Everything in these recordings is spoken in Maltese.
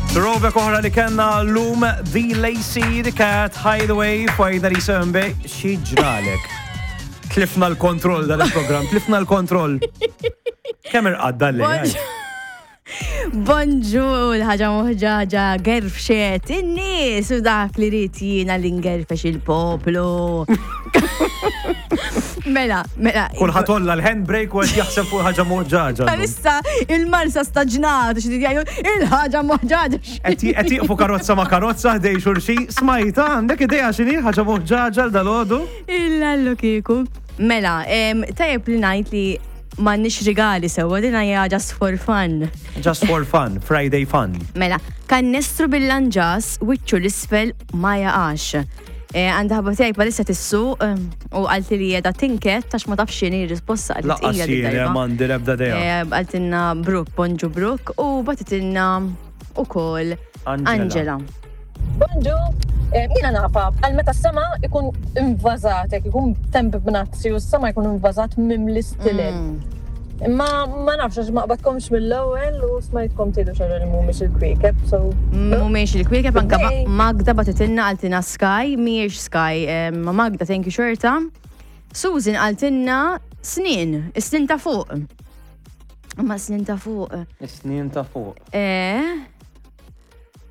Throwback oħra li kellna llum The Lacey, The Cat, Hideaway, fajda li sembe, xi ġralek. Tlifna l-kontroll dan il-programm, tlifna l-kontroll. Kemm irqadda l-lejl? Bonġu, l-ħaġa moħġaġa, gerfxet, in-nies u dak li rrit jiena li ngerfex il-poplu. Mela, mela. Kulħadd olla l-handbrake u qed jaħseb fuq ħaġa moħġaġa. Issa il-marsa staġnat, xi jgħidu il-ħaġa moħġaġa. Qed jieqfu karozza ma' karozza ħdej xulxin, smajta għandek idea x'inhi ħaġa moħġaġa l dalodu? Il-lallu kieku. Mela, tajjeb li ngħid li M'għandniex rigali sewwa, din hija just for fun. Just for fun, Friday fun. Mela, kannestru bil-lanġas, wiċċu l-isfel ma jaqax. Eh, għandha ħabba tiegħi palissa tissuq eh, u qalti li qiegħda tinket għax ma tafx x'inhi r-risposta qaltli Laqqas tqila din jiena darba. m'għandi l-ebda idea. Eh, Qaltilna Brooke, bonġu Brooke, u bagħtitilna ukoll Angela. Angela. Bonġu, eh, jiena nafa, għal meta s-sema ikun invażat, jekk ikun temp b'nazzi u s-sema jkun invażat mimli stilel. Mm. Imma ma nafx għax ma qbadkomx mill-ewwel u smajtkom tgħidu xi li mhumiex il-kwiekeb, so. Mhumiex il-kwiekeb anke Magda bagħtitilna qaltilna Sky, mhijiex Sky, eh, ma Magda thank you xorta. Susan qaltilna snin, is-snin ta' fuq. Ma snin ta' fuq. Is-snin ta' fuq. Eh.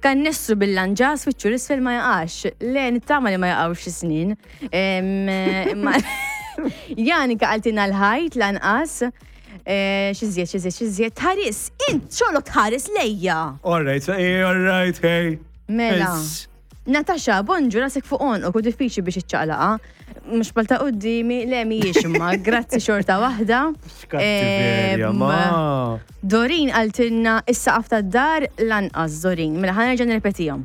Kannestru bil-lanġas wiċċu l-isfel ma jaqax. Le, nittama li ma jaqgħux is-snin. Imma Janika qaltilna l-ħajt lanqas. Eh, xiżjed, xiżjed, xiżjed. Tħares, int xogħlok tħares lejja. All right, hey, all right, hey. Mela. Natasha, bonġu rasek fuq għonqok u diffiċli biex iċċaqlaqa. Mhux bħal ta' qudiemi, le mhijiex imma, grazzi xorta waħda. X'kattiverja, ma. Dorin qaltilna is-saqaf tad-dar lanqas Dorin. Mela ħa nerġa' nirrepetihom.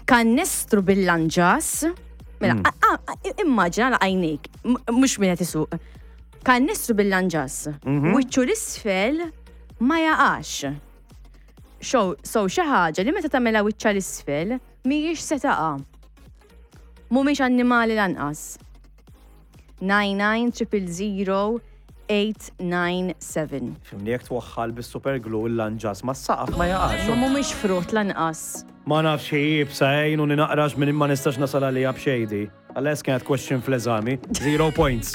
Kannestru bil-lanġas. Mela, mm. immaġina la għajnejk, mhux min qed isuq. Kannestru bil-lanġas. Mhm. Wiċċu l-isfel ma jaqax. So, so xi ħaġa li meta tagħmilha wiċċa l-isfel mhijiex se taqa'. Mhumiex annimali lanqas. 99 897. Fimni jekk twaħħal bis-super glue il-lanġas mas-saqaf ma jaqax. Ma mhumiex frott lanqas. Ma nafx hi iebsa għin u ninaqrax minn ma nistax nasal għaliha b'xejdi. Għalles kienet question fl-eżami. Zero points.